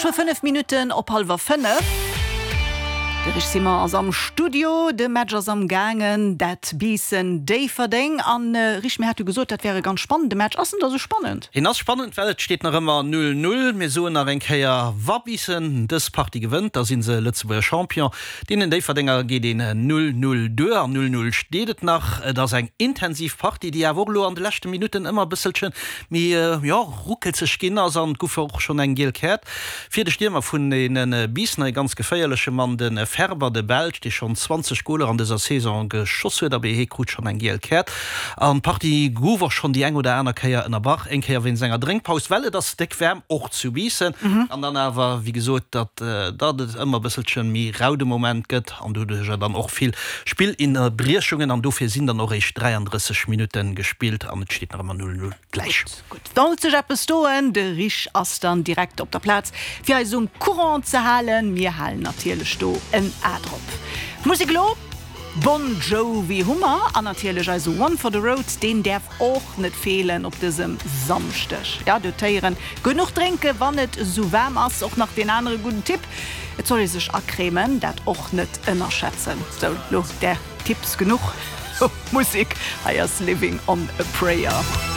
ass scho 5 Minutten op hallwer 5. De Rich Simon ass am Studio, de Match ass am gaangen, dat Biissen-Déifferdeng. An Rich, mir hate jo gesot, dat wär e ganz spannende Match. Ass en da sou spannend? Hien ass spannend, well et steet nach ëmmer 0, 0. Mir soen nach eng Kéier, wa Biissen dës Partie gewënnt, da si se Lëtzebuerger Champion. Deenen Déifferdenger geet een 0, 0 duer an 0, 0 steet et nach. Et ass eng intensiv Partie, déi awer och elo an de leschte Minutten ëmmer e bësselche méi, jo, ruckelzeg ginn ass an et guff och schonn eng giel Käert fir de Stiermer vun deene Biissener, ee ganz geféierleche Mann, de Ferber, de Belsch, dee schonn 20 Goler an dëser Saison geschoss huet, abee hee krut schonn eng giel Käert an d'Partie guff och schonn déi eng oder aner Kéier ënnerbrach, eng Kéier wéinst enger Drénkpaus, well et ass déck waarm och zu Biissen an dann awer, wéi gesot, datt datt et ëmmer e bësselche méi rau de Moment gëtt an doduercher dann och vill Spillinnerbriechungen an dofir sinn dann och eréischt 33 Minutte gespillt an et steet nach ëmmer 0, 0 gläich. Gutt, sollt sech eppes doen, de Rich ass dann direkt op der Plaz fir eis um Courant ze halen. Mir halen natierlech do en A drop. Musek elo, Bon Jovi hu mer an natierlech eise One for the Road, deen däerf och net feelen op dësem Samschdeg. Ja, dotéieren, genuch drénke wann et esou waarm ass. Och nach deen anere gudden Tipp, et soll ee sech acremen, dat och net ënnerschätzen. Sou, lo där Tipps genuch. Musek, hei ass Living on a Prayer.